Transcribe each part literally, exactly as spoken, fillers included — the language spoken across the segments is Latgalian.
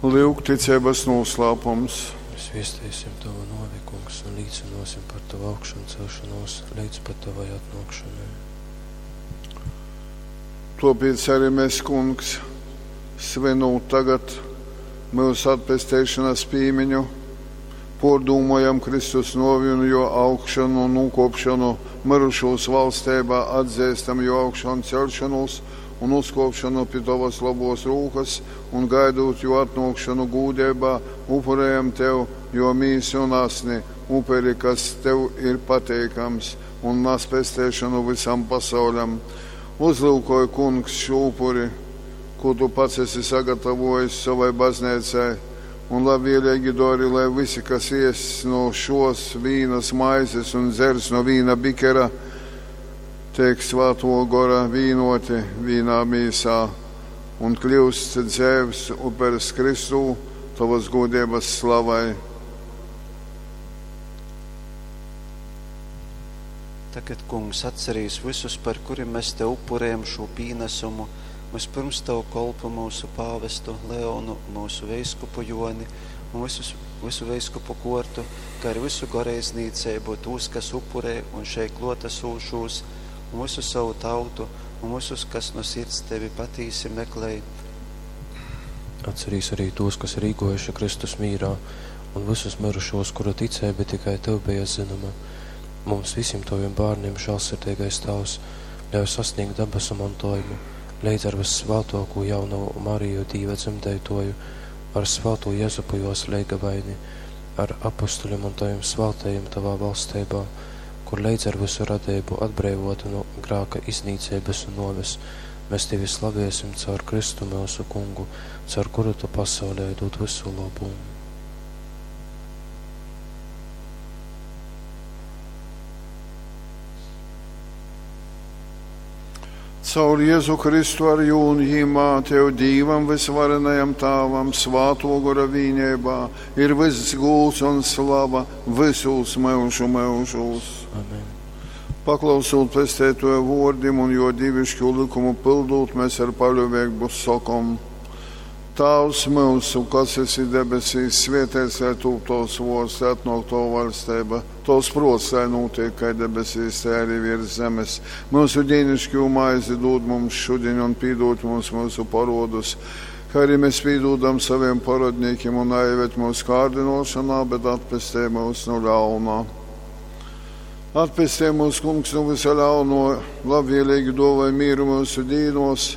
Lyuk, ticeibas nūslāpums. Mēs viestīsim Tavu nuovi, Kungs, un līcynuosim par Tavu augšancelšonūs leidz pat Tavai atnuokšonai. Tuopēc arī mēs, Kungs, svinūt tagad myusu atpesteišanas pīmiņu, pōrdūmojam Kristus nuovi un juo augšanu un nūkuopšonu myrušūs valsteibā, atzeistam juo augšanceļšonūs un uzkuopšonu pi tovas lobuos rūkas un gaidūt juo atnuokšonu gūdeibā, upurejam tev juo mīsu un asni, uperi, kas tev ir pateikams un nas pesteišonu vysam pasauļam. Uzlyukoj, Kungs, šū upuri, kū tu pats esi sagatavojis sovai bazneicai, un labvēlīgi dori, lai visi, kas ies no šos vīnas maizes un dzers no vīna bikera, teik Svātuo Gora vīnuoti vīnā mīsā un kļiust dzeivs upers Kristū tovas gūdeibas slavai. Tagad, Kungs, atcerīs vysus, par kurim mēs Tev upurējam šū pīnasumu, vyspyrms Tavu kolpu myusu pāvestu Leonu, myusu veiskupu Joni un visus, visu veiskupu kuortu, kā arī visu goreidznīceibu, tūs, kas upurē un šeit kluotasūšūs, un visu savu tautu, un visus, kas no sirds Tevi patīsi meklē. Atcerīs arī tos, kas ir īgojuši Kristus mīrā, un visus mirušos, kuru ticība tikai Tev bija zinama. Mums visiem Taviem bērniem, žēlsirdīgais Tēvs, ļauj sasniegt dabasu mantojumu, leidz ar vissvētāko jaunavu Mariju Dīva dzemdētoju, ar svēto Jezupu jos leigavaini, ar apustuļiem un Taviem svētajiem Tavā valstībā, kur leidz ar visu radību atbrīvota no grāka iznīcības un noves, mēs Tevi slavēsim caur Kristu mūsu kungu, caur kuru Tu pasaulē dod visu labumu. Caur Jēzu Kristu ar jū un jīmā Tev Dīvam visvarenajam Tāvam svāto gora vīneibā ir vyss gūds un slava vysūs myužu myužūs. Amen. Paklausūt pesteitoja vuordim un juo dīviškū lykumu pyldūt, mēs ar paļuveigbu sokom: Tāvs myusu, kas esi debesīs, svētīts lai tūp tovs vuords, lai atnuok tova vaļsteiba, tovs pruots, lai nūtiek kai debesīs, tai arī virs zemes. Myusu dīnišķū maizi dūd mums šudiņ un pīdūd mums myusu parodus, kā arī mēs pīdūdam saviem parodnīkiem un naieved mūsu kārdinošanā, bet atpestē mūs no ļaunā. Atpestē mūs, Kungs, no visa ļauno, labvēlīgi dāvāj mīru myusu dīnos,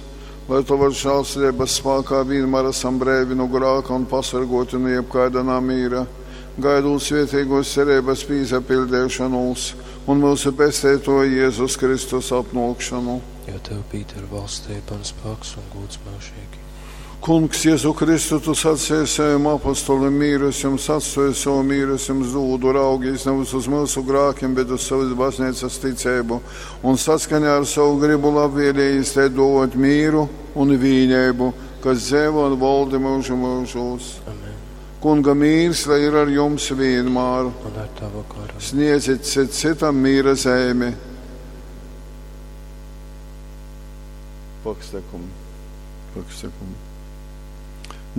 lai Tavas žēlsirdības spākā vienmēr esam breivi no grāka un pasargoti no jebkaida namīra, gaidot svētīgos cerības pīzapildēšanos un mūsu pesteitoja Jēzus Kristus atnākšanu. Jo Tev pīder valstība un spēks un gūds mūžīgi. Kungs, Jēzu Kristu, tu sacīji saviem apostoliem mīru es jums atstoju savu mīru, es jums dūdu, raugīs nevis uz mūsu grākiem, bet uz savas baznīcas ticību, un saskaņā ar savu gribu labvēlījis te dot mīru un vīneibu, kas dzēvo un valdi mūžu mūžos. Amen. Kunga mīrs, lai ir ar jums vienmēr. Un ar Tavu garu. Sniedzit cit citam mīra zemi. Pakstekum. Pakstekum.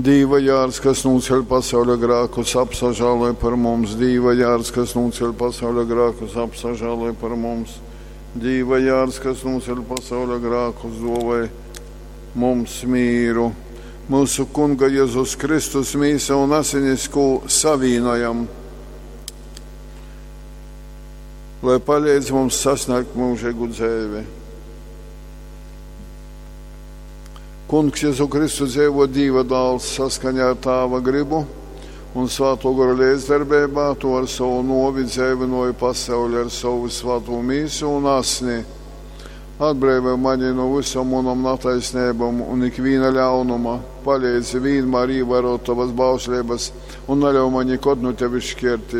Dīva jārs, kas nūceļ pasauļa grākus, apsažāloj par mums. Dīva jārs, kas nūceļ pasauļa grākus, apsažāloj par mums. Dīva jārs, kas nūceļ pasauļa grākus, dovai mums mīru. Mūsu Kunga Jēzus Kristus mīsa un asinis, ko savīnojam, lai palīdz mums sasniegt mūžīgu dzēvi. Kungs Jēzu Kristu dzēvo Dīva dāls saskaņā ar Tāva gribu un Svāto Gora līdzdarbībā, to ar savu novi dzēvinoju pasauli ar savu svāto mīsu un asni. Atbrīvo mani no visam manam nataisnībām un ikviena ļaunuma, palīdzi vienmēr ievērot tavas bauslības un neļauj man nekad no tevis šķirties.